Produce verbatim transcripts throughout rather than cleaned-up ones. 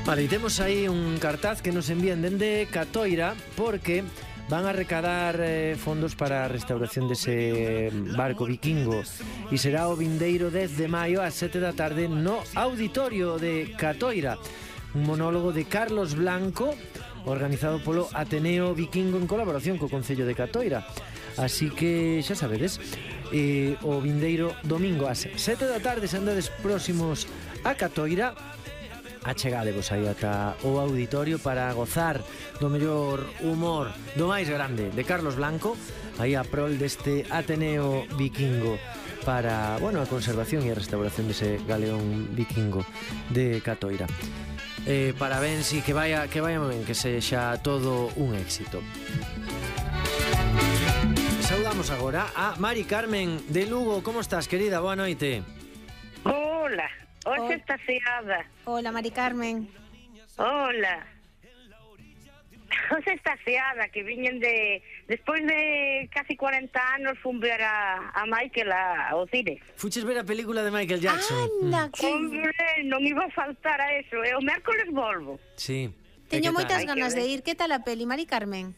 Vale, e temos aí un cartaz que nos envían dende Catoira porque van a recadar eh, fondos para a restauración dese barco vikingo e será o vindeiro dez de maio ás sete da tarde no auditorio de Catoira, un monólogo de Carlos Blanco organizado polo Ateneo Vikingo en colaboración co Concello de Catoira. Así que xa sabedes, eh, o vindeiro domingo ás sete da tarde, se andades próximos a Catoira, achegadevos aí ata o auditorio para gozar do mellor humor, do máis grande, de Carlos Blanco, aí a prol deste Ateneo Vikingo para, bueno, a conservación e a restauración dese galeón vikingo de Catoira. Eh, parabéns e que vaya, que vaya ben, que sexa todo un éxito. Saudamos agora a Mari Carmen de Lugo. Como estás, querida? Boa noite. Hola. Hoxe Hola. está seada. Hola, Mari Carmen. Hola. Hoxe está seada, que viñen de... Despois de casi cuarenta anos fun ver a, a Michael a, ao cine. Fuches ver a película de Michael Jackson? Anda, que... Hombre, non iba a faltar a eso. E o mércoles volvo. Sí. Teño moitas Hai que ganas ver. de ir. Que tal a peli, Mari Carmen?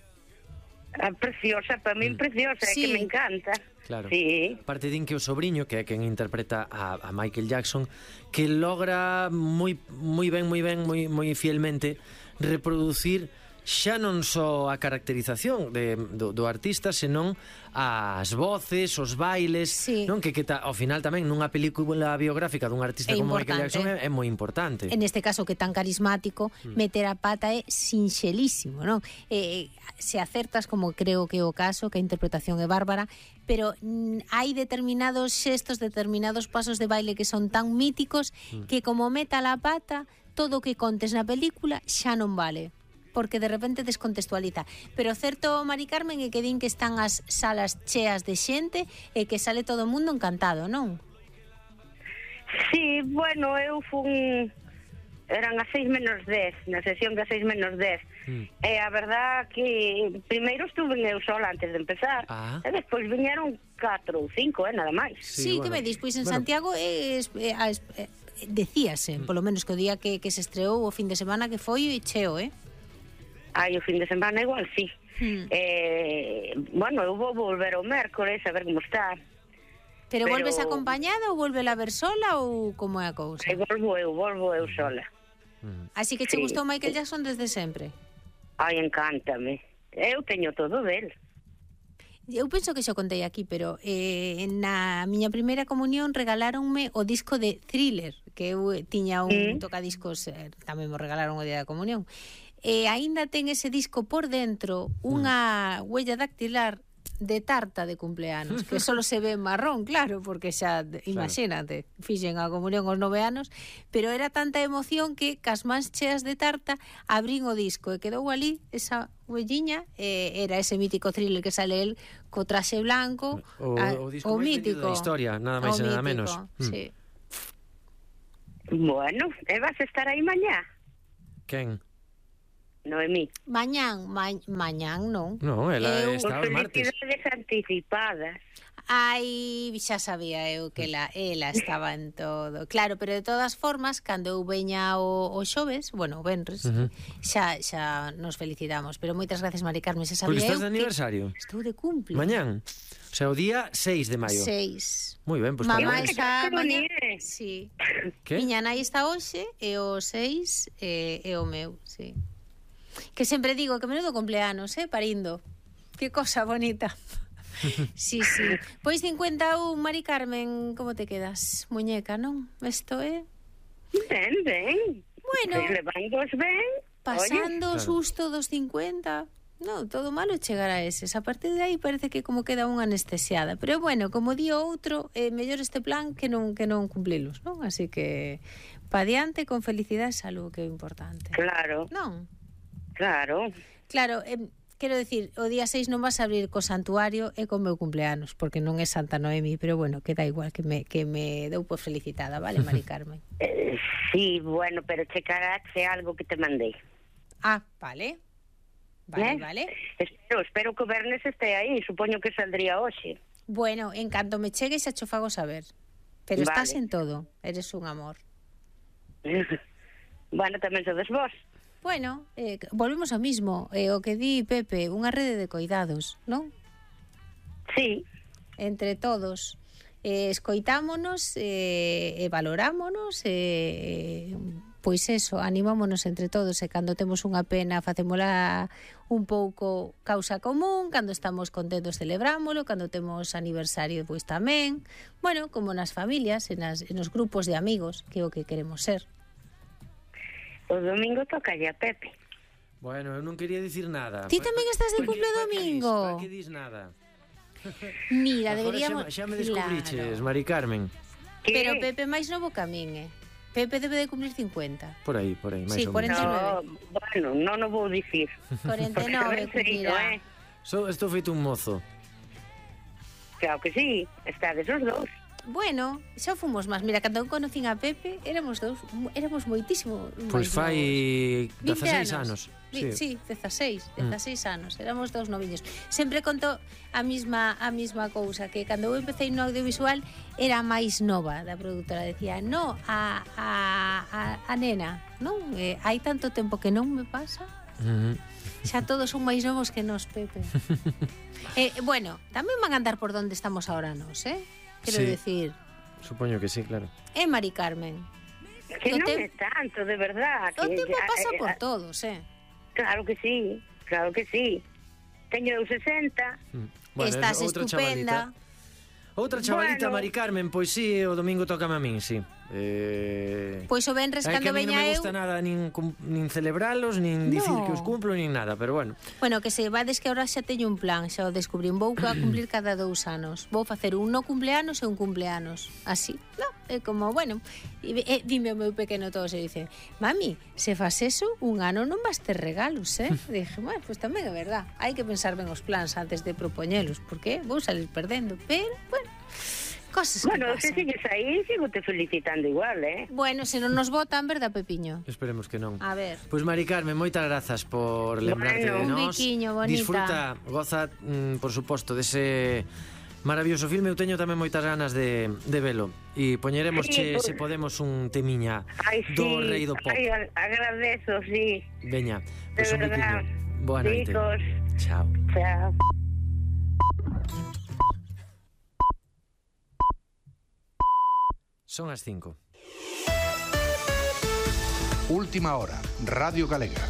Ah, preciosa, para min preciosa, é Sí. que me encanta. Claro. Sí. Aparte din que o sobrinho, que é quen interpreta a, a Michael Jackson, que logra moi moi ben, moi ben, moi moi fielmente reproducir xa non só a caracterización de, do, do artista, senón as voces, os bailes, Sí. non que, que ta, ao final tamén nunha película biográfica dun artista É como Michael importante. Jackson é, é moi importante. En este caso que tan carismático, meter a pata é sinxelísimo, non? Eh, se acertas, como creo que é o caso, que a interpretación é bárbara, pero mm, hai determinados xestos, determinados pasos de baile que son tan míticos que como meta a pata, todo o que contes na película xa non vale, porque de repente descontextualiza. Pero certo, Mari Carmen, é que din que están as salas cheas de xente e que sale todo o mundo encantado, non? Sí, bueno, eu fun... Eran as seis menos dez, na sesión das seis menos dez. Mm. E a verdad que primeiro estuve eu sola antes de empezar, Ah. e despois viñeron catro ou cinco, eh, nada máis. Sí, Sí, que bueno. me dis, pois en Bueno. Santiago es, eh, es, eh, decíase, polo menos que o día que, que se estreou o fin de semana que foi cheo, eh? Ai, o fin de semana igual, sí. Hmm. Eh, bueno, eu vou volver o mércoles a ver como está. Pero, Pero- volves acompañada ou volve a ver sola ou como é a cousa? E volvo eu, volvo eu sola. Así que che Sí. gustou Michael Jackson desde sempre? Ai, encántame. Eu teño todo del. Eu penso que xo contei aquí, pero eh, na miña primeira comunión regaláronme o disco de Thriller, que eu eh, tiña un Mm. tocadiscos, eh, tamén me regalaron o día da comunión. E aínda ten ese disco por dentro unha huella dactilar de tarta de cumpleanos, que solo se ve en marrón, claro, porque xa, imagínate, fixen a comunión aos nove anos, pero era tanta emoción que cas mans cheas de tarta abrín o disco e quedou ali esa huelliña, e era ese mítico Thriller que sale el co traxe blanco, O, a- o disco máis vendido da historia, nada máis o e nada mítico, menos. Mm. sí. Bueno, e vas a estar aí mañá, Quen? Noemí. Mañán, ma, mañán non. No, ela Eu- está os martes. Felicidades anticipadas. Ai, xa sabía eu que ela, ela estaba en todo. Claro, pero de todas formas, cando eu veña o, o xoves, bueno, o venres, Ujú. xa xa nos felicitamos. Pero moitas gracias, Mari Carmen, xa Pois sabía estás eu de aniversario? que estou de cumple. Mañán. O sea, o día seis de maio. Seis. Moi ben, pois Mamá parabéns. está Que mañá. bonito. Sí. Que? Miña nai está hoxe e o seis e, e o meu, sí. Que sempre digo que menudo cumpleanos, eh, parindo. Que cosa bonita. Sí, sí. Pois cincuenta e un, Mari Carmen, como te quedas? Muñeca, non? Isto é... Ben, ben. Bueno. Pois levándoos ben. Pasando o Claro. susto dos cincuenta. Non, todo malo chegar a eses. A partir de aí parece que como queda unha anestesiada. Pero bueno, como di o outro, é eh, mellor este plan que non que non cumplilos, non? Así que pa diante con felicidade e salud, que é o importante. Claro, Non? claro. Claro, eh, quero decir, o día seis non vas a abrir co santuario e co meu cumpleanos, porque non é Santa Noemi, pero bueno, queda igual que me, que me dou por felicitada, vale, Mari Carmen? Eh, sí, bueno, pero checarase algo que te mandei. Ah, vale. Vale, Eh? vale. Espero, espero que o Bernes este aí, supoño que saldría hoxe. Bueno, en canto me chegue xa cho fago saber. Pero Vale. estás en todo, eres un amor. Bueno, tamén sodes vos. Bueno, eh, volvemos ao mismo, eh, o que di Pepe, unha rede de coidados, non? Sí. Entre todos. Eh, escoitámonos eh, e valorámonos e... Eh, pois eso, animámonos entre todos e cando temos unha pena facémola un pouco causa común, cando estamos contentos celebrámolo, cando temos aniversario pois tamén, bueno, como nas familias, en, as, en os grupos de amigos, que é o que queremos ser. O domingo toca a Pepe. Bueno, eu non quería dicir nada. Ti tamén estás de cumple domingo? Pa que dis nada? Mira, deberíamos... Xa, xa me descubriches, claro. Mari Carmen. Pero Pepe máis novo que a min, eh? Pepe debe de cumplir cincuenta. Por aí, por aí, máis sí, ou menos. cuarenta e nove. No, bueno, non o vou dicir. cuarenta e nove cumplirá. Eh? So, estou feito un mozo. Claro que sí, estades os dous. Bueno, xa fomos máis. Mira, cando eu conocín a Pepe, éramos dous, éramos moitísimo Pois fai dezaseis anos. Sí, sí, dezaseis, dezaseis mm. anos. Éramos dous noviños. Sempre conto a mesma a mesma cousa, que cando eu empecé no audiovisual era máis nova da produtora. Decía, no, a, a, a, a nena, non? Eh, hai tanto tempo que non me pasa. Mm. Xa todos son máis novos que nos, Pepe. eh, bueno, tamén van a andar por donde estamos ahora nos, eh? Quero sí, decir... Supoño que sí, claro. É Mari Carmen. Que non é tanto, de verdad. O que, tempo pasa eh, por eh, todos, eh? Claro que sí, claro que sí. Teño eu sesenta. Mm. Bueno, estás outra estupenda. Chavalita. Outra chavalita, bueno. Mari Carmen, pois sí, o domingo tócame a min, sí. Eh... Pois o venres cando veña eu... non me gusta nada nin, nin celebralos, nin no. dicir que os cumplo, nin nada, pero bueno. Bueno, que se vades que ahora xa teño un plan, xa o descubrín, vou a cumplir cada dous anos. Vou facer un no cumpleanos e un cumpleanos. Así, no, é como, bueno, e, e, dime o meu pequeno todo, se dice, mami, se fas eso, un ano non vas ter regalos, eh? E dije, bueno, pois pues tamén é verdad, hai que pensar ben os plans antes de propoñelos, porque vou salir perdendo, pero, bueno... Cosas bueno, que pasan. se sigues aí, sigo te felicitando igual, eh? Bueno, se non nos votan, verdad, Pepiño? Esperemos que non. A ver. Pois, pues, Mari Carmen, moitas grazas por lembrarte bueno, de nós. Un biquiño, bonita. Disfruta, goza, mm, por suposto, dese maravilloso filme. Eu teño tamén moitas ganas de, de velo. E poñeremos, sí, che, pues... se podemos, un temiña Ay, sí. do rei do pop. Ai, agradezo, sí. Veña, pois pues un biquiño. Boa noite. Chicos. Chao. Chao. Son as cinco. Última hora, Radio Galega.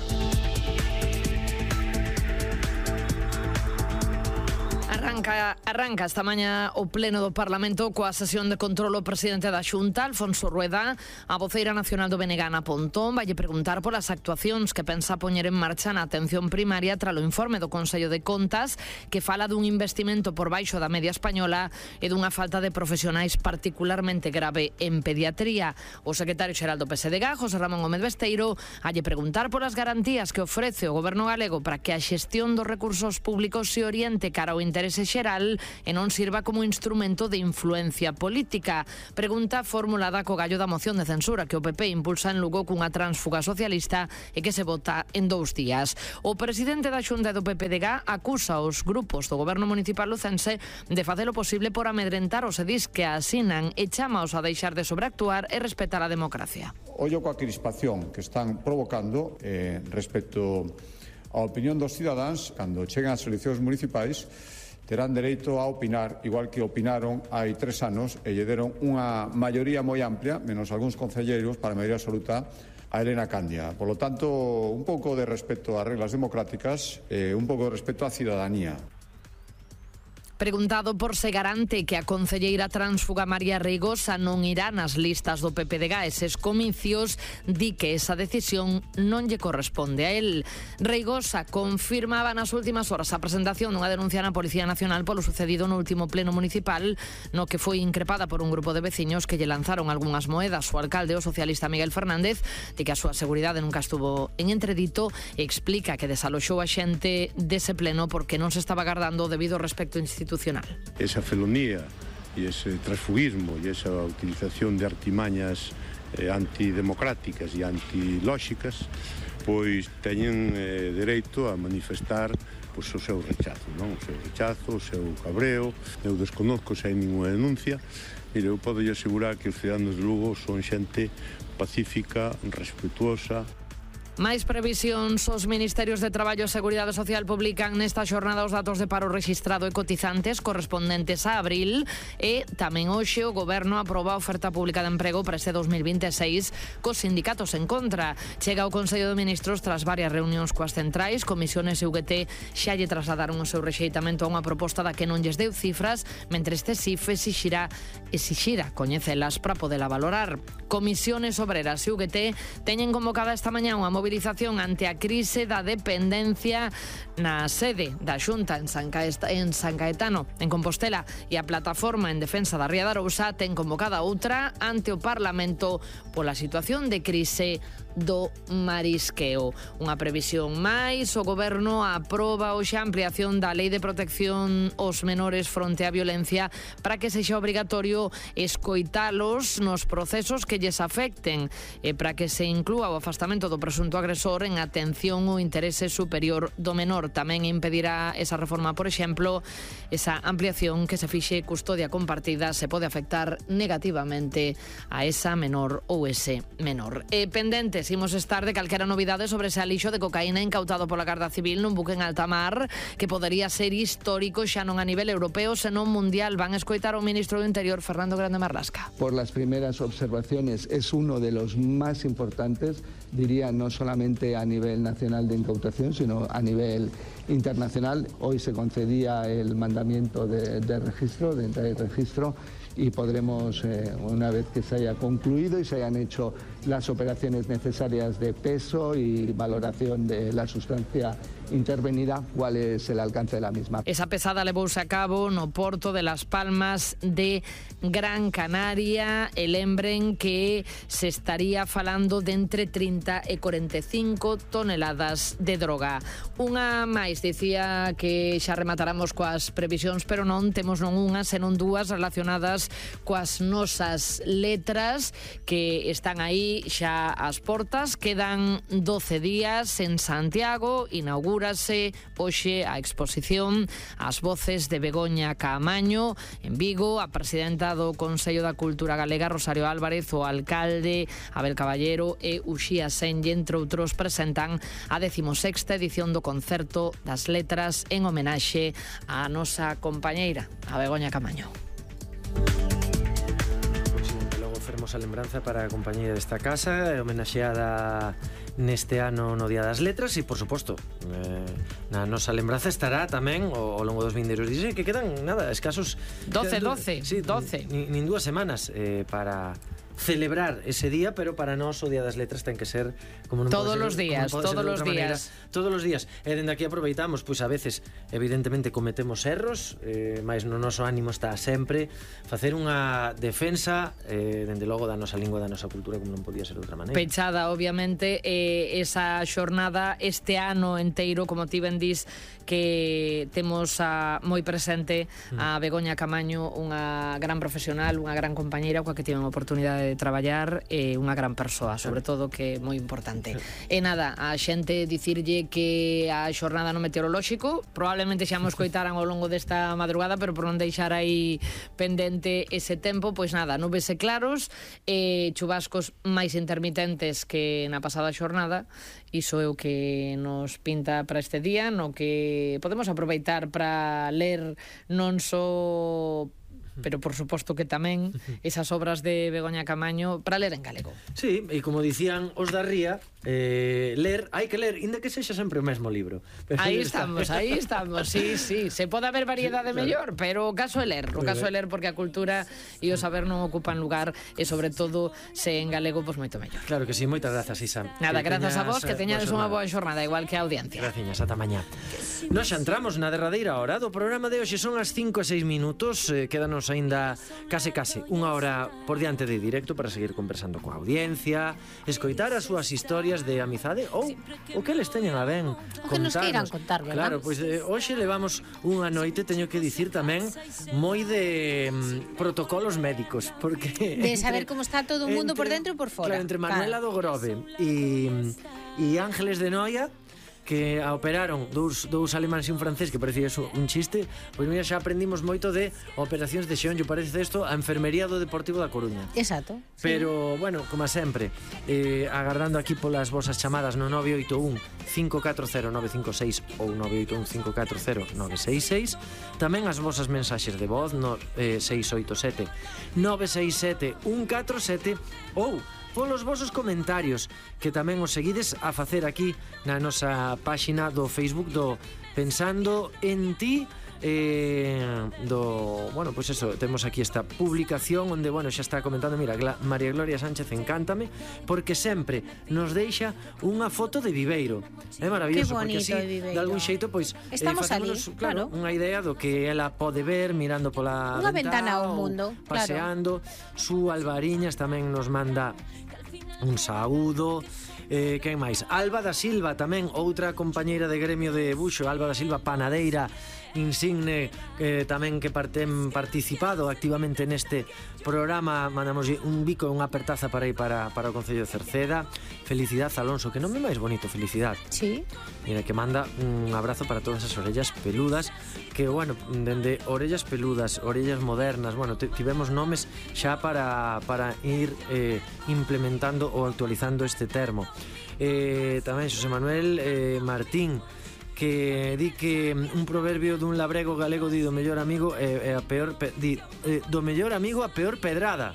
Arranca, arranca esta mañá o pleno do Parlamento coa sesión de control o presidente da Xunta, Alfonso Rueda. A voceira nacional do B N G, Ana Pontón, vai preguntar polas actuacións que pensa poñer en marcha na atención primaria tras o informe do Consello de Contas, que fala dun investimento por baixo da media española e dunha falta de profesionais particularmente grave en pediatría. O secretario xeral do P S D G, José Ramón Gómez Besteiro, vai preguntar polas garantías que ofrece o goberno galego para que a xestión dos recursos públicos se oriente cara ao interese xeral e non sirva como instrumento de influencia política. Pregunta formulada co gallo da moción de censura que o P P impulsa en Lugo cunha tránsfuga socialista e que se vota en dous días. O presidente da Xunta do P P D G acusa os grupos do goberno municipal lucense de facer o posible por amedrentar os edís que asinan e chamaos a deixar de sobreactuar e respetar a democracia. Ollo coa crispación que están provocando eh, respecto á opinión dos cidadáns cando chegan as eleccións municipais. Terán dereito a opinar, igual que opinaron hai tres anos e lle deron unha maioría moi amplia, menos algúns concelleiros, para a maioría absoluta, a Elena Candia. Por lo tanto, un pouco de respeto ás reglas democráticas, eh, un pouco de respeto á cidadanía. Preguntado por se garante que a concelleira tránsfuga María Reigosa non irá nas listas do P P D G eses comicios, di que esa decisión non lle corresponde a él. Reigosa confirmaba nas últimas horas a presentación dunha denuncia na Policía Nacional polo sucedido no último pleno municipal, no que foi increpada por un grupo de veciños que lle lanzaron algunhas moedas. O alcalde, o socialista Miguel Fernández, di que a súa seguridade nunca estuvo en entredito e explica que desaloxou a xente dese pleno porque non se estaba guardando debido ao respecto institucional. Esa felonía e ese transfugismo e esa utilización de artimañas eh, antidemocráticas e antilóxicas pois teñen eh, dereito a manifestar pois, o seu rechazo, non? O seu rechazo, o seu cabreo. Eu desconozco se hai ninguna denuncia. Mire, eu podo asegurar que os ciudadanos de Lugo son xente pacífica, respetuosa. Máis previsións, os Ministerios de Traballo e Seguridade Social publican nesta xornada os datos de paro rexistrado e cotizantes correspondentes a abril e tamén hoxe o Goberno aproba a oferta pública de emprego para este dos mil vinte e seis cos sindicatos en contra. Chega ao Consello de Ministros tras varias reunións coas centrais, comisiones e U G T xa lle trasladaron o seu rexeitamento a unha proposta da que non lles deu cifras, mentre este C I F exixirá, exixirá coñecelas para podela valorar. Comisiones Obreras e U G T teñen convocada esta mañá unha movilización ante a crise da dependencia na sede da Xunta en San, Caest en San Caetano, en Compostela, e a Plataforma en Defensa da Ría de Arousa ten convocada outra ante o Parlamento pola situación de crise do marisqueo. Unha previsión máis, o Goberno aproba hoxe a ampliación da Lei de Protección aos Menores fronte á violencia para que sexa obrigatorio escoitalos nos procesos que lles afecten e para que se inclúa o afastamento do presunto agresor en atención ao interese superior do menor. Tamén impedirá esa reforma, por exemplo, esa ampliación que se fixe custodia compartida se pode afectar negativamente a esa menor ou ese menor. E pendentes imos estar de calquera novidade sobre ese alixo de cocaína incautado pola Garda Civil nun buque en alta mar que podería ser histórico xa non a nivel europeo senón mundial. Van a escoitar ao ministro do Interior, Fernando Grande Marlasca. Por las primeras observaciones es uno de los más importantes, diría no solamente a nivel nacional de incautación, sino a nivel internacional. Hoy se concedía el mandamiento de, de registro, de entrada y registro, y podremos, eh, una vez que se haya concluido y se hayan hecho las operaciones necesarias de peso y valoración de la sustancia intervenida, cuál es el alcance de la misma. Esa pesada levouse a cabo no porto de Las Palmas de Gran Canaria. E lembren que se estaría falando de entre trinta e cuarenta e cinco toneladas de droga. Unha máis, dicía que xa remataramos coas previsións, pero non temos non unha, senón dúas relacionadas coas nosas letras que están aí xa ás portas. Quedan doce días en Santiago, inaugura hoxe a exposición As voces de Begoña Caamaño en Vigo. A presidenta do Consello da Cultura Galega, Rosario Álvarez, o alcalde Abel Caballero e Uxía Senlle, entre outros, presentan a decimosexta edición do concerto das letras en homenaxe á nosa compañeira, a Begoña Caamaño. Fermosa lembranza para a compañeira desta casa, homenaxeada neste ano no Día das Letras e, por suposto, eh, na nosa lembranza estará tamén ao longo dos vindeiros días, que quedan, nada, escasos doce, doce, sí, doce. Nin, nin dúas semanas eh, para celebrar ese día, pero para nós o Día das Letras ten que ser como non todos ser, os días, todos os días. Maneira, todos os días. E dende aquí aproveitamos, pois a veces evidentemente cometemos erros, eh, mais no noso ánimo está sempre facer unha defensa eh, dende logo da nosa lingua, da nosa cultura, como non podía ser de outra maneira. Pechada, obviamente, eh, esa xornada este ano enteiro, como ti ben dis, que temos a, moi presente a Begoña Caamaño, unha gran profesional, unha gran compañeira coa que tiven a oportunidade de traballar, e unha gran persoa, sobre todo, que é moi importante. E nada, a xente dicirlle que a xornada no meteorolóxico probablemente xa mo escoitaran ao longo desta madrugada, pero por non deixar aí pendente ese tempo, pois nada, nubes e claros e chubascos máis intermitentes que na pasada xornada. Iso é o que nos pinta para este día, no que podemos aproveitar para ler non só, pero por suposto que tamén esas obras de Begoña Caamaño para ler en galego. Sí, e como dicían os da Ría, eh, ler, hai que ler, inda que sexa sempre o mesmo libro. Pero aí estamos, aí estamos, sí, sí, se pode haber variedade mellor, pero o caso é ler, o caso é ler, porque a cultura e o saber non ocupan lugar, e sobre todo se en galego, pois moito mellor. Claro que sí, moitas grazas, Isa. Nada, grazas a vos, que teñades unha boa xornada, igual que a audiencia. Graciñas, ata mañá. Nos xa entramos na derradeira hora do programa de hoxe, son as cinco e seis minutos, eh, quédanos aínda case case unha hora por diante de directo para seguir conversando coa audiencia, escoitar as súas historias de amizade ou o que les teñan a ben o que nos queiran contar, verdad? Claro, pois pues, eh, hoxe levamos unha noite, teño que dicir tamén, moi de mm, protocolos médicos, porque de saber como está todo o mundo entre, por dentro e por fora. Claro, entre Manuela claro. do Grove e, e Ángeles de Noia, que a operaron dous, dous alemáns e un francés, que parecía eso un chiste, pois mira, xa aprendimos moito de operacións de xeonllo, parece isto a enfermería do Deportivo da Coruña. Exacto. Pero, sí. Bueno, como sempre, eh, agardando aquí polas vosas chamadas no nove oito un cinco catro cero nove cinco seis ou nove oito un cinco catro cero nove seis seis, tamén as vosas mensaxes de voz no eh, seis oito sete nove seis sete un catro sete ou polos vosos comentarios, que tamén os seguides a facer aquí na nosa páxina do Facebook do Pensando en Ti, eh, do, bueno, pois pues eso, temos aquí esta publicación onde, bueno, xa está comentando, mira, María Gloria Sánchez encántame, porque sempre nos deixa unha foto de Viveiro. É maravilloso, porque así, de algún xeito, pois, estamos eh, ali, claro, claro, unha idea do que ela pode ver mirando pola unha ventana, ventana ao mundo, paseando. Claro. Su Albariñas tamén nos manda un saúdo. Eh, quen máis? Alba da Silva tamén, outra compañeira de gremio de buxo. Alba da Silva, panadeira insigne, eh, tamén que parten participado activamente neste programa. Mandamos un bico e unha apertaza para ir para, para o Concello de Cerceda. Felicidade Alonso, que non é máis bonito, Felicidade. Sí. Mira, que manda un abrazo para todas as orellas peludas, que, bueno, dende orellas peludas, orellas modernas, bueno, tivemos nomes xa para, para ir eh, implementando ou actualizando este termo. Eh, tamén Xosé Manuel eh, Martín, que di que un proverbio dun labrego galego di do mellor amigo é, é a peor pe, di, eh, do mellor amigo a peor pedrada.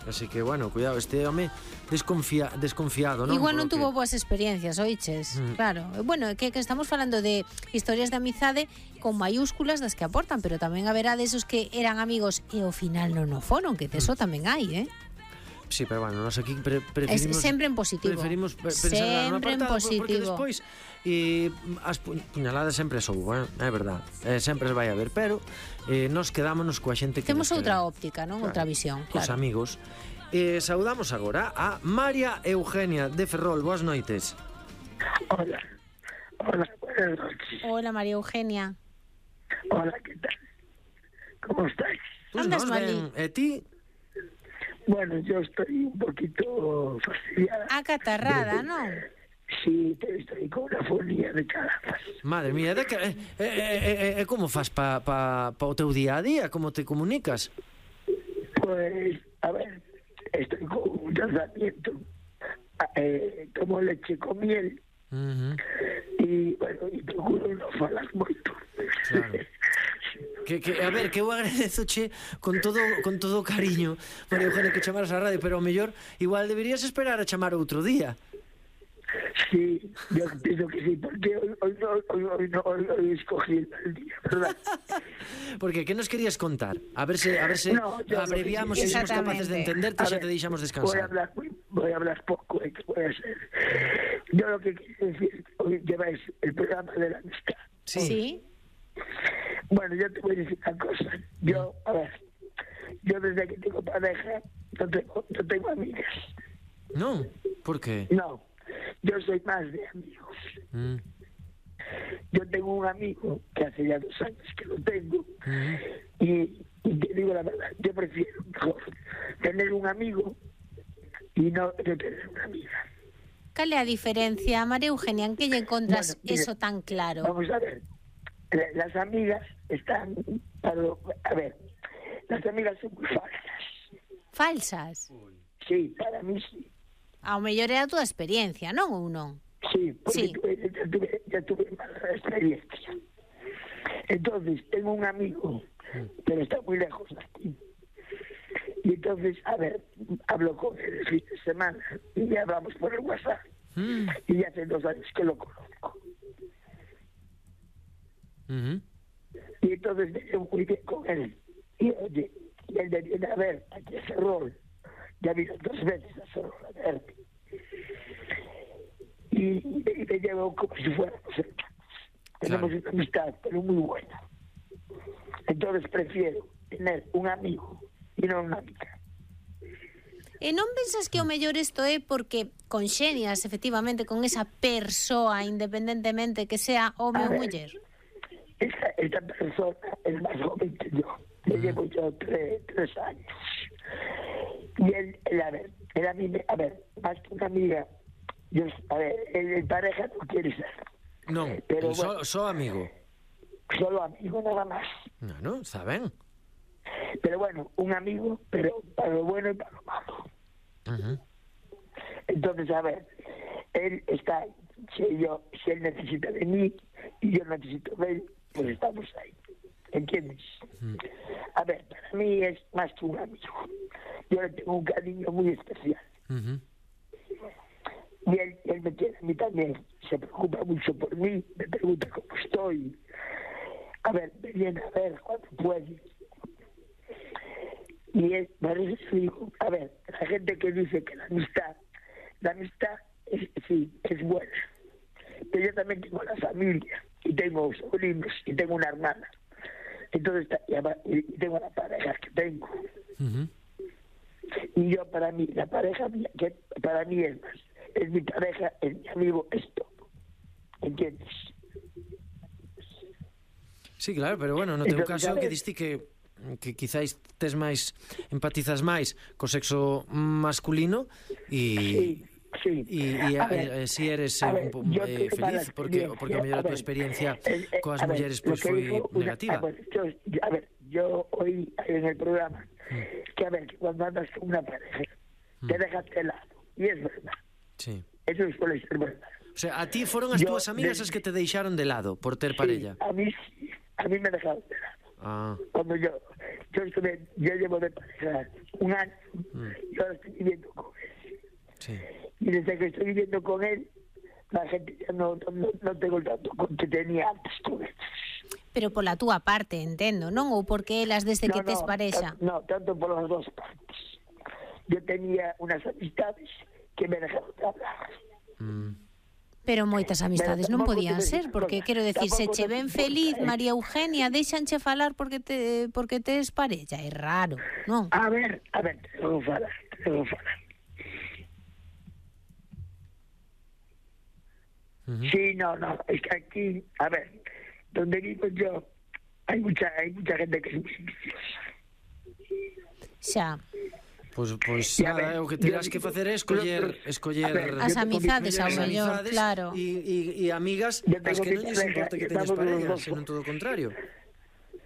Así que, bueno, cuidado, este home desconfia, desconfiado, non? Igual non que... tuvo boas experiencias, oiches, mm. Claro. Bueno, que, que estamos falando de historias de amizade con mayúsculas das que aportan, pero tamén haberá desos que eran amigos e ao final non o foron, que de eso mm. tamén hai, eh? Sí, pero bueno, nos aquí pre preferimos... Es sempre en positivo. Preferimos pe pensar sempre en apartado, positivo. Porque despois e as pu puñaladas sempre soubo, eh? É verdad, eh, sempre vai a ver, pero eh, nos quedámonos coa xente que temos outra queremos. óptica, non? Claro, outra visión, claro. Os amigos. Eh, saudamos agora a María Eugenia de Ferrol. Boas noites. Hola. Hola, buenas noches. Hola, María Eugenia. Hola, ¿qué tal? ¿Cómo estáis? Pues Andas mal. ¿E ti? Bueno, yo estoy un poquito fastidiada. Acatarrada, ¿no? Sí, estoy con una fonía de calambres. Madre mía, de que, eh, eh, eh, eh, como fas pa, pa, pa o teu día a día? Como te comunicas? Pues, a ver, estoy con un tratamiento. Eh, tomo leche con miel. Uh-huh. Y, bueno, y procuro no falar moito. Claro. Que, que, a ver, que eu agradezoche con todo con todo o cariño, María Eugenia, que chamaras a radio, pero ao mellor igual deberías esperar a chamar outro día. Sí, yo pienso que sí, porque hoy, hoy, no, hoy, hoy, no, hoy, hoy escogí el día, ¿verdad? Porque, ¿qué nos querías contar? A ver si, a ver si no, abreviamos y somos capaces de entenderte y ya te deixamos descansar. Voy a hablar, voy, voy a hablar poco, ¿eh? Voy a hacer. Yo lo que quiero decir, hoy lleváis el programa de la amistad. Sí. Sí. Bueno, yo te voy a decir una cosa. Yo, a ver, yo desde que tengo pareja no tengo, no tengo amigas. No, ¿por qué? No, yo soy más de amigos. Mm. Yo tengo un amigo que hace ya dos años que lo tengo Mm. y, y te digo la verdad, yo prefiero mejor tener un amigo y no yo tener una amiga. ¿Cuál es la diferencia, María Eugenia? ¿En qué encuentras Bueno, mira, eso tan claro? Vamos a ver. Las amigas están, para, a ver, las amigas son muy falsas. Falsas? Sí, para mí sí. Ao mellor é a túa experiencia, non ou non? Sí, porque Sí. Tuve, ya, tuve, ya tuve mala experiencia. Entonces, tengo un amigo, pero está muy lejos de aquí. Y entonces, a ver, hablo con él el fin de semana y ya hablamos por el WhatsApp. Mm. Y hace dos años que lo conozco. Uh-huh. Y entonces me llevo muy bien con él. Y oye, y él me viene a ver aquí a Ferrol. Ya vino dos veces a Ferrol a verme. Y, y, me, y me llevo como si fuéramos hermanos. Tenemos Claro. una amistad, pero muy buena. Entonces prefiero tener un amigo y no una amiga. E non pensas que o mellor isto é porque conxenias efectivamente con esa persoa independentemente que sea home ou muller? Esta, esta persona es más joven que yo. Le llevo yo tres, tres años. Y él, él, a ver, él a mí, me, a ver, más que una amiga, yo, a ver, el, el pareja no quiere ser. Non, Pero, só, bueno, só amigo. Solo amigo nada más. No, no, está ben. Pero bueno, un amigo, pero para lo bueno y para lo malo. Uh-huh. Entonces, a ver, él está ahí. Si, yo, si él necesita de mí y yo necesito de él, pues estamos ahí. ¿Entiendes? Uh-huh. A ver, para mí es más que un amigo. Yo le tengo un cariño muy especial. Uh-huh. Y él, él me quiere a mí también. Se preocupa mucho por mí, me pregunta cómo estoy. A ver, me viene a ver cuando puede. Y es, por eso digo, a ver, la gente que dice que la amistad, la amistad es, sí, es buena. Pero yo también tengo la familia, y tengo sobrinos, y tengo una hermana. Entonces, y tengo la pareja que tengo. Uh-huh. Y yo, para mí, la pareja mía, que para mí es más, es mi pareja, es mi amigo, es todo. ¿Entiendes? Sí, claro, pero bueno, no teu caso que diste que que quizáis tes máis empatizas máis co sexo masculino e sí, sí. e e si eres eh, ver, un, eh, feliz porque porque a mellor a tua experiencia eh, eh, coas mulleres pois pues, foi digo, negativa. Una, a, ver, yo, a ver, yo oí en el programa mm. que a ver, que cuando andas con una pareja mm. te dejas de lado, y es verdad. Sí. Eso suele ser verdad. O sea, a ti foron as túas amigas as que te deixaron de lado por ter sí, parella. A mí sí, a mí me dejaron de lado. Ah. Cuando yo, yo estuve, yo llevo de pareja un año mm. y ahora estoy viviendo con él. Sí. Y desde que estoy viviendo con él, la gente ya no, no, no tengo el trato que tenía antes con él. Pero pola túa parte, entendo, non? Ou porque elas desde no, que tes no, parexa? No, tanto por las dos partes. Yo tenía unas amistades que me dejaron de hablar. Mm. Pero moitas amistades non podían ser, porque quero decir, se che ven feliz María Eugenia, deixanche falar porque te porque tes parella, é raro, non? A ver, a ver, te vou falar, te vou falar. Uh-huh. Sí, no, no, es que aquí, a ver, donde vivo yo, hay mucha hay mucha gente que es muy viciosa. Xa. Pois, pois nada, o que terás que facer é escoller escoller ver, as amizades ao mellor, claro. E, e, e amigas as que non lles importa que teñas parellas, senón todo o contrario.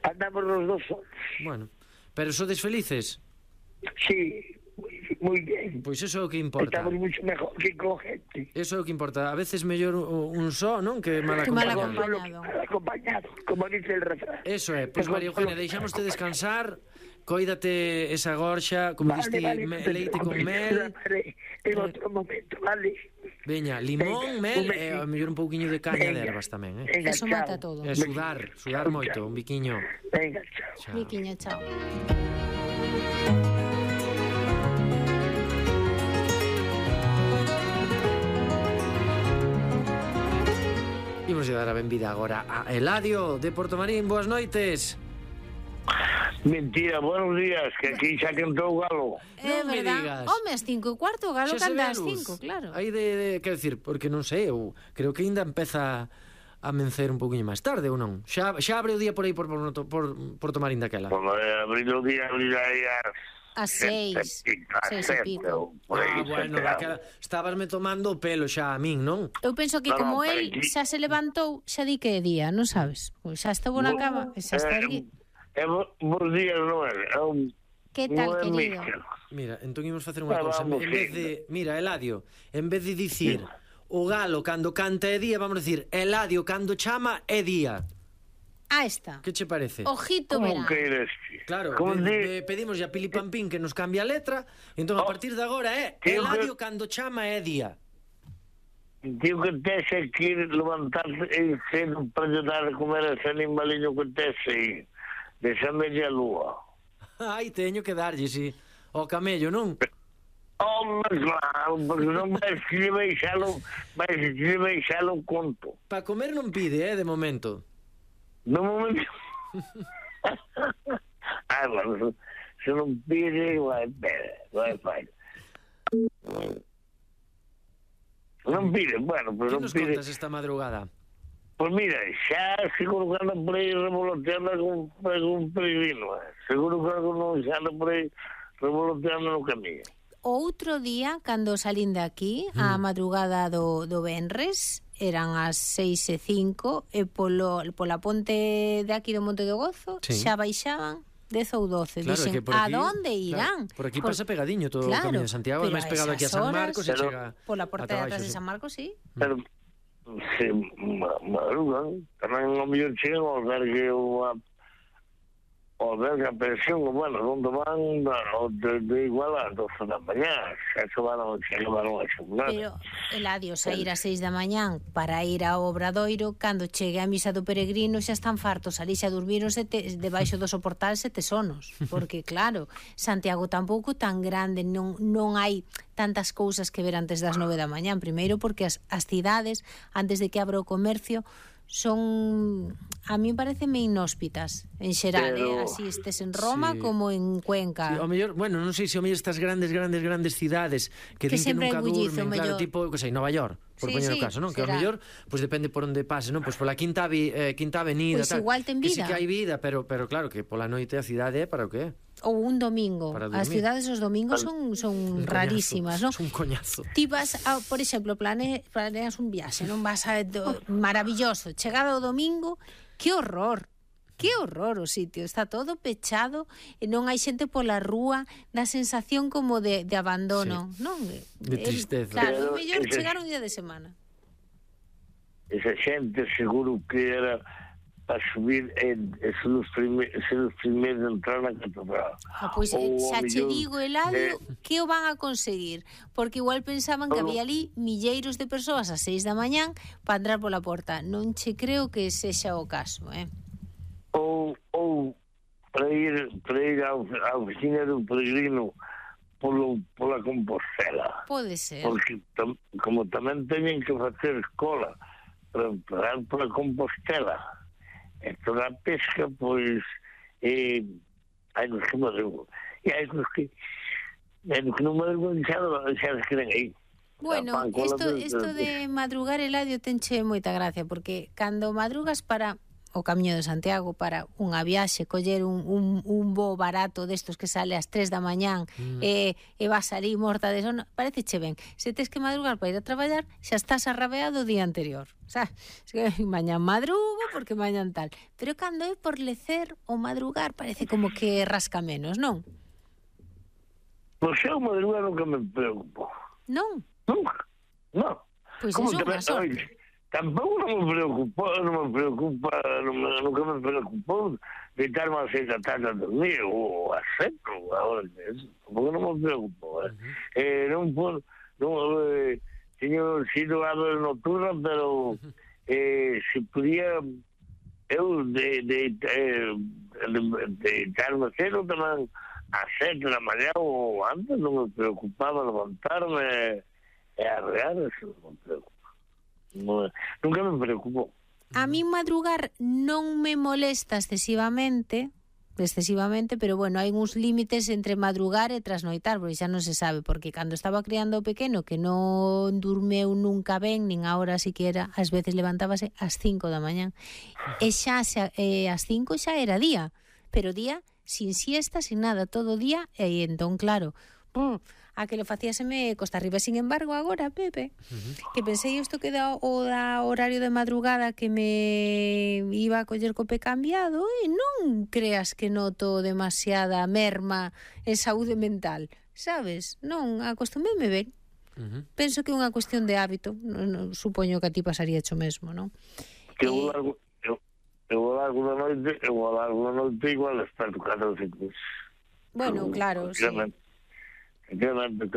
Andamos los dos solos. Bueno, pero sodes felices? Sí, muy bien. Pois eso é o que importa. Estamos mucho mejor que con gente. Eso é o que importa. A veces mellor un só, non? Que mal acompañado. Mal acompañado, como dice el refrán. Eso é. Pois María Eugenia, deixámoste descansar. Coídate esa gorxa, como vale, diste vale, me, leite con mel. En outro momento, vale. Veña, limón, venga, mel e a mellor un pouquiño de caña venga, de ervas tamén, eh? Eso mata todo. E sudar, sudar chao, moito, chao. Un biquiño. Venga, chao. chao. Biquiño, chao. Imos a dar a benvida agora a Eladio de Portomarín. Boas noites. Mentira, buenos días, que aquí xa cantou o galo. É non verdad. Home, as cinco e cuarto, o galo canta as cinco, claro. Aí de, de, quero dicir, porque non sei, eu creo que ainda empeza a mencer un pouquiño máis tarde, ou non? Xa, xa abre o día por aí por, por, por, por tomar indaquela. Bueno, eh, abrir o día, abrir aí as... A seis, seis e pico. Ah, bueno, daquela, estabasme tomando o pelo xa a min, non? Eu penso que no, como no, el xa se levantou, xa di que é día, non sabes? Pois xa estuvo na cama, xa está aquí. É bons días, Noel. É un... Que tal, Noel querido? Mister. Mira, entón imos facer unha cousa. En vez de... Mira, Eladio, en vez de dicir o galo cando canta é día, vamos a dicir Eladio cando chama é día. Ah, está. Que che parece? Ojito, verá. Como que eres? Claro, Como pe, pe, pedimos a Pili Pampín que nos cambie a letra, entón a partir de agora é Eladio cando chama é día. Tío, que tes que ir levantarte e cedo para ayudar a comer ese animaliño que tes aí. Desa media lúa. Ai, teño que darlle, si. O camello, non? Home, claro, porque non vais que lle baixalo, vais que lle baixalo conto. Pa comer non pide, eh, de momento. No momento... ah, bueno, se non pide, vai, pede, vai, vai. Non pide, bueno, pero non pide... Que nos contas esta madrugada? Pois pues mira, xa seguro que anda por aí revoloteando con, con un peregrino, eh. Seguro que algo non xa anda por aí revoloteando no camiño. o outro día, cando salín de aquí, mm. a madrugada do, do Venres, eran as seis e cinco, e polo, pola ponte de aquí do Monte do Gozo, sí. xa baixaban dez ou doce. Claro, dixen, aquí, a donde irán? Claro, por aquí por... pasa pegadiño todo claro, o camiño de Santiago, máis pegado aquí a San Marcos e chega pola porta de atrás de San Marcos, sí. Pero se madrugan, tamén o mellor chegan ao albergue ou a o albergue a pensión, bueno, onde van de, de igual a doce da mañá, xa se van a xegar. Pero, Eladio, sair a seis da mañán para ir ao Obradoiro, cando chegue a misa do peregrino xa están fartos, ali xa durmiron sete, debaixo do soportal sete sonos, porque claro, Santiago tampouco tan grande, non, non hai tantas cousas que ver antes das nove da mañán, primeiro porque as, as cidades, antes de que abra o comercio, son, a mí pareceme inhóspitas en xeral, pero... eh? Así estes en Roma sí. como en Cuenca. Sí, o mellor, bueno, non sei se o mellor estas grandes, grandes, grandes cidades que, que din que nunca durmen, claro, tipo, que sei, Nova York, por sí, poñer sí, o caso, non? Que ao mellor, pois pues, depende por onde pase, non? Pois pues, pola Quinta, eh, Quinta Avenida, pues tal, igual ten vida. Que sí que hai vida, pero, pero claro, que pola noite a cidade é para o que é? Ou un domingo. As cidades os domingos son, son rarísimas, non? Son un coñazo. Ti vas, a, por exemplo, plane, planeas un viaxe, non vas a... Do, maravilloso. Chegado o domingo, que horror. Que horror o sitio. Está todo pechado e non hai xente pola rúa, dá sensación como de, de abandono, sí. non? De tristeza. Claro, o mellor chegar un día de semana. Esa xente seguro que era... a subir en, en ser os primeiros primeir a entrar na catedral. Ah, pois pues, xa che digo, Eladio, eh, que o van a conseguir, porque igual pensaban que había ali milleiros de persoas a seis da mañán para entrar pola porta. Non che creo que sexa o caso, eh? Ou, ou para ir, para ir á oficina do peregrino polo, pola Compostela. Pode ser. Porque tam, como tamén teñen que facer cola para entrar pola Compostela, e toda a pesca, pois, eh, hai nos que madrugan. E hai nos que, hai nos que non madrugan, xa, xa se queden aí. Bueno, isto, isto de madrugar, Eladio, tenche moita gracia, porque cando madrugas para o Camiño de Santiago, para unha viaxe, coller un, un, un voo barato destos que sale ás tres da mañán mm. e, e vas ali morta de sono, parece che ben. Se tes que madrugar para ir a traballar, xa estás arrabeado o día anterior. O sea, mañán madrugo porque mañán tal. Pero cando é por lecer o madrugar, parece como que rasca menos, non? Pois eu madrugar nunca me preocupo. Non? Nunca, non. Pois é unha sorte. Tampouco non me preocupa, non me preocupa, non me, nunca me preocupou deitarme a seis da tarde a dormir, ou a sete, ou a hora que é, tampouco non me preocupou. Eh. Uh-huh. Eh, non por, non, eh, teño sido ave nocturna, pero eh, se podía eu de, de, de, de, de deitarme cedo tamén a sete da mañá ou antes, non me preocupaba levantarme e arrear, eso non me preocupa. No, nunca me preocupo. A mí madrugar non me molesta excesivamente, excesivamente, pero bueno, hai uns límites entre madrugar e trasnoitar, porque xa non se sabe, porque cando estaba criando o pequeno, que non durmeu nunca ben, nin a hora siquiera, ás veces levantábase ás cinco da mañán, e xa xa, eh, ás cinco xa era día, pero día sin siesta, sin nada, todo día, e entón, claro, pum, a que lo facíaseme costa arriba. Sin embargo, agora, Pepe, uh-huh. que pensei isto que da o da horario de madrugada que me iba a coller co pé cambiado, e non creas que noto demasiada merma en saúde mental, sabes? Non, acostumeme ben. Uh-huh. Penso que é unha cuestión de hábito. Non, non, supoño que a ti pasaría hecho mesmo, non? Que eu largo, eu, eu largo da noite, eu largo da noite igual desperto catro ou cinco. Bueno, claro, sí. Realmente,